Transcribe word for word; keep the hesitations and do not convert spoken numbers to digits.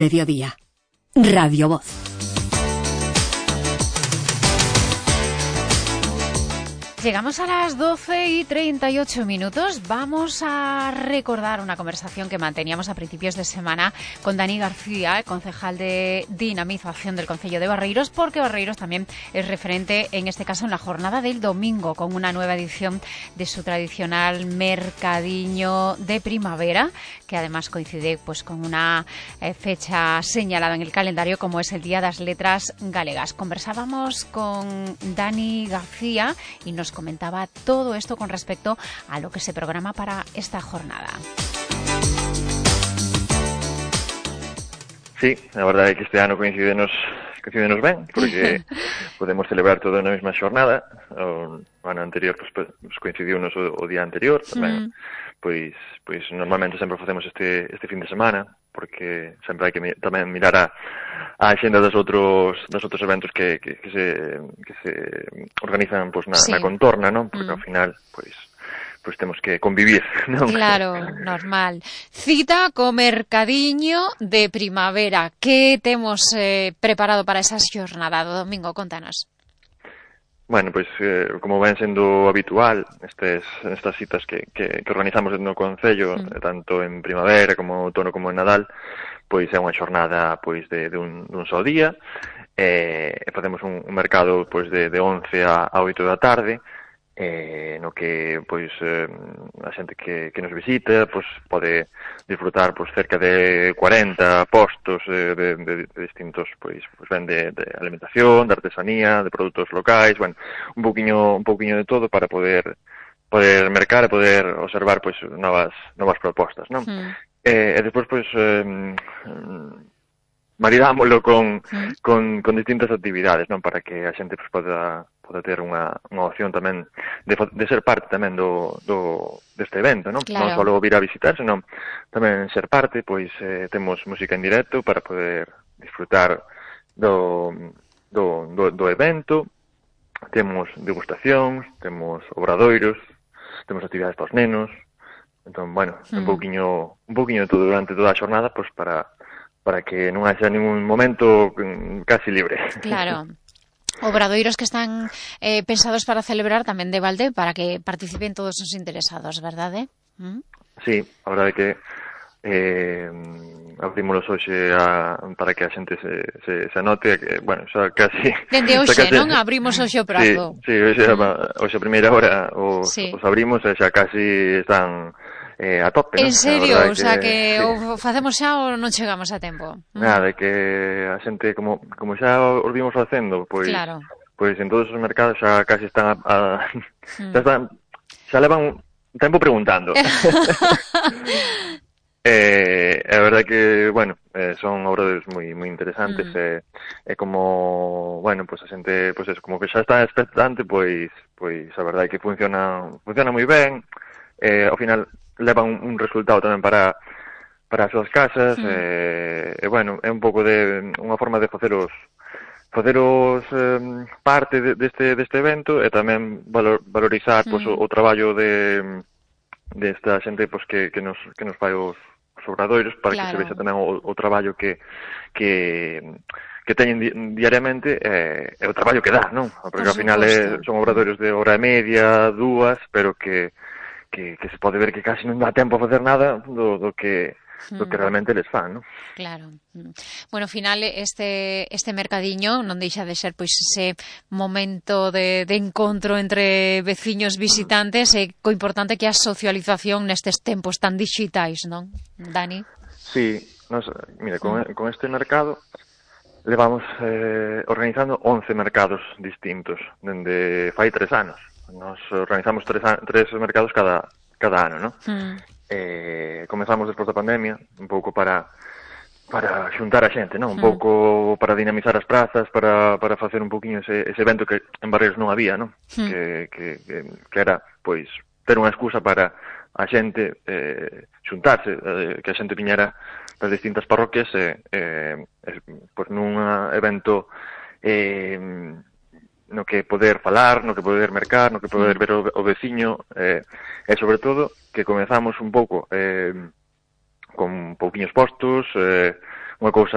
Mediodía. Radio Voz. Llegamos a las doce y treinta y ocho minutos. Vamos a recordar una conversación que manteníamos a principios de semana con Dani García, concejal de Dinamización del Concello de Barreiros, porque Barreiros también es referente, en este caso, en la jornada del domingo, con una nueva edición de su tradicional mercadiño de primavera, que además coincide pues con una eh, fecha señalada en el calendario, como es el Día das Letras Galegas. Conversábamos con Dani García y nos comentaba todo esto con respecto a lo que se programa para esta jornada. Sí, a verdade é que este ano coincidenos, coincidenos ben, porque podemos celebrar todo na mesma xornada. O ano anterior pues, pues, coincidiu nos o, o día anterior, tamén, mm. pois, pois normalmente sempre facemos este, este fin de semana, porque sempre hai que mi, tamén mirar a a axenda dos outros dos outros eventos que, que, que se que se organizan pues na, sí. na contorna, non? Porque mm. ao final, pois pois temos que convivir, non? Claro, normal. Cita co mercadiño de primavera. Que temos eh, preparado para esa xornada do domingo? Contanos. Bueno, pois, eh, como ven sendo habitual, estes, estas citas que, que, que organizamos no Concello, mm. tanto en primavera como outono como en Nadal, pois é unha xornada pois de, de un, dun só día, e eh, facemos un, un mercado pois de, de once a oito da tarde, eh, no que pois eh, a xente que, que nos visita pois pode disfrutar pois cerca de cuarenta postos eh, de, de, de distintos pois, pois ben de, de alimentación, de artesanía, de produtos locais, bueno, un pouquiño un pouquiño de todo para poder poder mercar e poder observar pois novas novas propostas, non? Mm. Eh, e despois, pois, eh, maridámoslo con, mm. con, con distintas actividades, non? Para que a xente pois, poda, poda ter unha, unha opción tamén de, de ser parte tamén do, do, deste evento, non? Claro. Non só vir a visitar, senón tamén ser parte, pois eh, temos música en directo para poder disfrutar do, do, do, do evento, temos degustacións, temos obradoiros, temos actividades para os nenos. Entón, bueno, mm. un pouquiño un pouquiño de todo durante toda a xornada, pois para para que non haxa ningún momento casi libre. Claro. Obradoiros que están eh, pensados para celebrar tamén de balde para que participen todos os interesados, verdade? ¿Mm? Sí, a verdade é que eh, abrimos hoxe a, para que a xente se, se, se anote, que, bueno, xa casi... Dende hoxe, casi, non? Abrimos hoxe o prazo. Sí, sí, hoxe, mm. hoxe a primeira hora os, sí. os abrimos e xa casi están... Eh, a tope, en ¿no? serio? O sea, que, que sí. o facemos xa ou non chegamos a tempo? Nada, que a xente, como como xa os vimos facendo, pois claro. pois en todos os mercados xa casi están a, a mm. xa están, xa levan tempo preguntando. eh, é verdade que, bueno, eh, son obras moi moi interesantes, mm. e eh, eh, como, bueno, pois pues a xente, pois pues eso, como que xa está expectante, pois pois a verdade que funciona funciona moi ben. Eh, ao final leva un, un resultado tamén para para as súas casas, sí. e, e bueno, é un pouco de unha forma de faceros faceros eh, parte de, deste deste evento e tamén valor, valorizar sí. pois, o, o traballo de desta de xente pois, que, que nos que nos fai os, os obradoiros para claro. que se vexa tamén o, o traballo que que que teñen di, diariamente e eh, o traballo que dá, non? Porque ao final é, son obradoiros de hora e media, dúas, pero que Que, que se pode ver que casi non dá tempo a facer nada do, do que do que realmente les fan, non? Claro. Bueno, ao final este este mercadiño non deixa de ser pois ese momento de, de encontro entre veciños visitantes e co importante que é a socialización nestes tempos tan digitais, non, Dani? Sí, nos, mira, con, mm. con este mercado levamos eh, organizando once mercados distintos dende fai tres anos. Nos organizamos tres, tres mercados cada cada ano, ¿no? Mm. Eh, comezamos despois da pandemia, un pouco para para xuntar a xente, ¿no? Un mm. pouco para dinamizar as prazas, para para facer un pouquiño ese, ese evento que en Barreiros non había, ¿no? Mm. Que, que, que, que era, pois, ter unha excusa para a xente eh, xuntarse, eh, que a xente viñera das distintas parroquias e eh, eh, pois nun evento eh, no que poder falar, no que poder mercar, no que poder ver o, o veciño, eh, e sobre todo que comezamos un pouco eh, con pouquiños postos, eh, unha cousa